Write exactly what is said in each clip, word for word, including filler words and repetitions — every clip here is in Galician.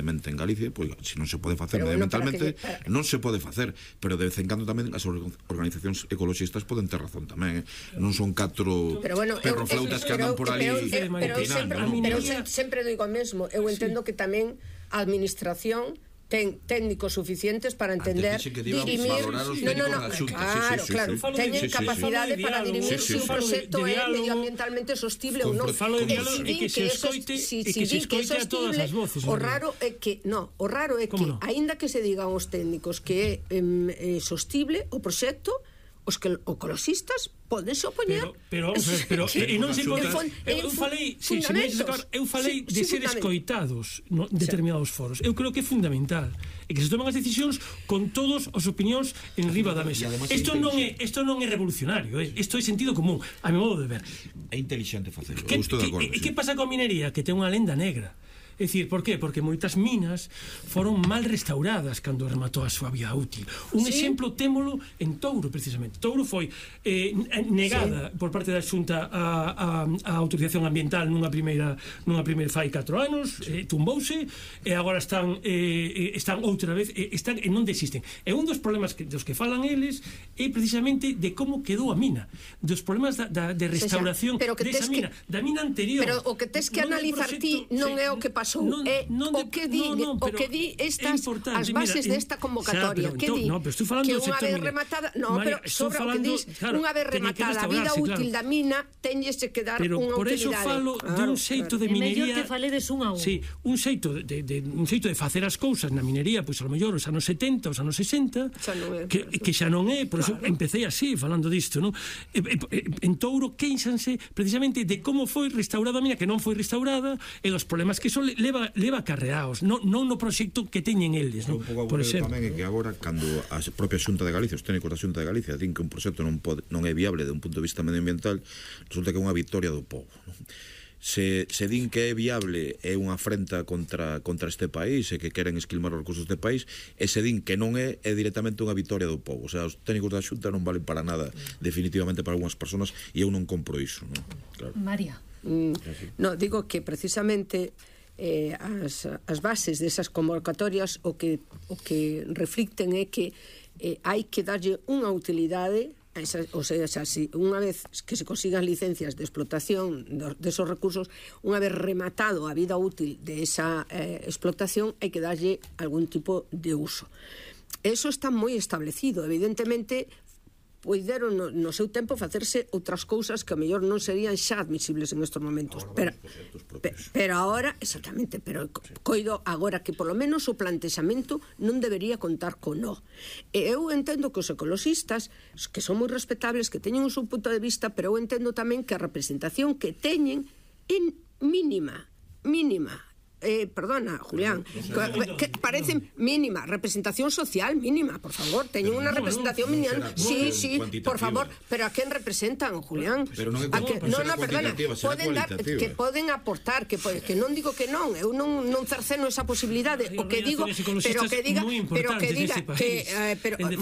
en Galicia, pois se non se pode facer medioambientalmente, non se pode facer, pero de vez en cando tamén as organizacións ecologistas poden ter razón tamén, non son catro perroflautas que andan por ali opinando. Pero sempre digo o mesmo, eu entendo que tamén a administración ten técnicos suficientes para entender dirimir, no, no, no, claro, claro, teñen capacidade para dirimir se un proxecto é medioambientalmente sostible ou non. E que se escoite a todas as voces. O raro é que, no, o raro é que aínda que se digan os técnicos que é sostible o proxecto, os que ecologistas podense opoñer. Pero, pero, e non se pode. Eu falei, se me eu falei de ser escoitados en determinados foros. Eu creo que é fundamental e que se toman as decisións con todos as opinións en riba da mesa. Isto non é, isto non é revolucionario, isto é sentido común, a mi modo de ver. É inteligente facelo. E que pasa coa minería? Que ten unha lenda negra. É dicir, por qué? Porque moitas minas foron mal restauradas cando rematou a súa vida útil. Un sí. exemplo témolo en Touro, precisamente. Touro foi eh, negada sí. por parte da Xunta a, a, a autorización ambiental nunha primeira nunha primeira fai catro anos, eh, tumbouse, e agora están eh, están outra vez, eh, están e non desisten. E un dos problemas que, dos que falan eles é precisamente de como quedou a mina, dos problemas da, da, de restauración desa mina, que, da mina anterior. Pero o que tes que analizar ti non é o que pasou. Non, é non de, o que di, no, no, o que di estas as bases desta convocatoria, xa, que di no, que unha vez rematada, no, María, pero sobre o que dis, claro, unha vez rematada a vida útil claro. da mina, teñese que dar pero unha por utilidade. Pero por eso falo claro, de un xeito claro. de minería. É mellor que faledes un a un. Sí, un xeito de, de un xeito de facer as cousas na minería, pois pues, a lo mellor os anos setenta, os anos sesenta, xa é, que, que xa non é, por eso claro. empecé así falando disto, ¿no? E, e, en Touro queixanse precisamente de como foi restaurada a mina, que non foi restaurada, e dos problemas que son leva leva a carreaos, non, non no proxecto que teñen eles, non? Un pouco aburrido tamén é que agora, cando a propia Xunta de Galicia, os técnicos da Xunta de Galicia din que un proxecto non, pode, non é viable de un punto de vista medioambiental, resulta que é unha victoria do povo, non? Se, se din que é viable é unha afrenta contra, contra este país e que queren esquilmar os recursos deste país, e se din que non é, é directamente unha victoria do povo. O sea, os técnicos da Xunta non valen para nada, definitivamente para algunhas persoas, e eu non compro iso, non? Claro. María. Mm, no, digo que precisamente Eh, as, as bases desas convocatorias o que, o que reflicten é que eh, hai que darlle unha utilidade a esa, o sea, si unha vez que se consigan licencias de explotación desos de recursos, unha vez rematado a vida útil de esa eh, explotación, hai que darlle algún tipo de uso. Eso está moi establecido, evidentemente poideron no, no seu tempo facerse outras cousas que a mellor non serían xa admisibles en estes momentos, pero, pe, pero agora, exactamente, pero coido agora que polo menos o plantexamento non debería contar con no. E eu entendo que os ecologistas, que son moi respetables, que teñen o seu punto de vista, pero eu entendo tamén que a representación que teñen é mínima, mínima. Eh, perdona, Julián, que, que parece mínima, representación social mínima, por favor, teñen unha representación mínima, sí, sí, por favor, pero a quen representan, Julián? Pero non é que, no, no, perdona, poden dar, que poden aportar, que, que non digo que non, eu non non cerceno esa posibilidade, o que digo, pero que diga, pero que diga que eh, pero bueno,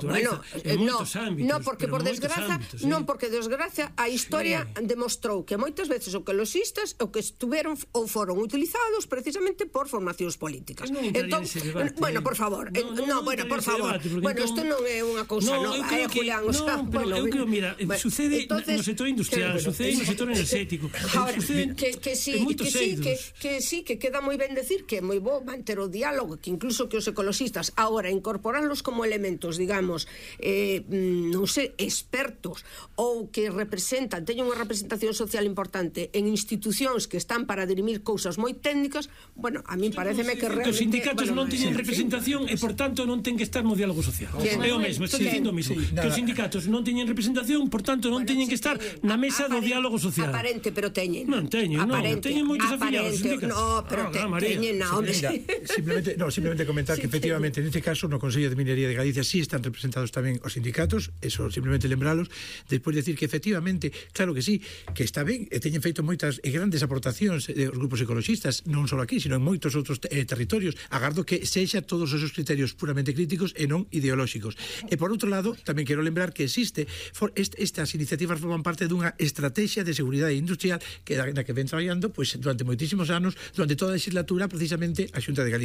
bueno, no, no, porque por desgracia, non porque desgracia a historia demostrou que moitas veces o que los ecologistas o que estuveron ou foron utilizados precisamente por formacións políticas. No entón, debate, bueno, por favor, no, no, no, no bueno, por favor. Debate, bueno, isto entón... non é unha cousa no, nova, eh, Julián, no, o sea, pero bueno, eu creo, mira, bueno, sucede entonces, no sector industrial, que, sucede no sector energético. Ahora, que, que sí, que sí, que, que sí, que queda moi ben decir que é moi bo manter o diálogo, que incluso que os ecologistas agora incorporarlos como elementos, digamos, eh, non sei, expertos ou que representan, teñen unha representación social importante en institucións que están para dirimir cousas moi técnicas, bueno, a mí pareceme que realmente... Os sindicatos non teñen representación e, por tanto, non ten que estar no diálogo social. É o mesmo, está dicindo o mesmo. Que os sindicatos non teñen representación, por tanto, non teñen que estar na mesa do diálogo social. Aparente, pero teñen. Non teñen, non. Teñen moitos afiliados. No, pero teñen, non. Simplemente, no, simplemente comentar que, efectivamente, neste caso, no Consello de Minería de Galicia sí están representados tamén os sindicatos, eso, simplemente lembralos, despois decir que, efectivamente, claro que sí, que está ben, e teñen feito moitas e grandes aportacións os grupos ecologistas, non só aquí, sino en moitos outros eh, territorios. Agardo que sexa todos esos criterios puramente críticos e non ideolóxicos. E por outro lado, tamén quero lembrar que existe for, est, estas iniciativas forman parte dunha estrategia de seguridade industrial que na que ven traballando pois, durante moitísimos anos, durante toda a legislatura, precisamente a Xunta de Galicia.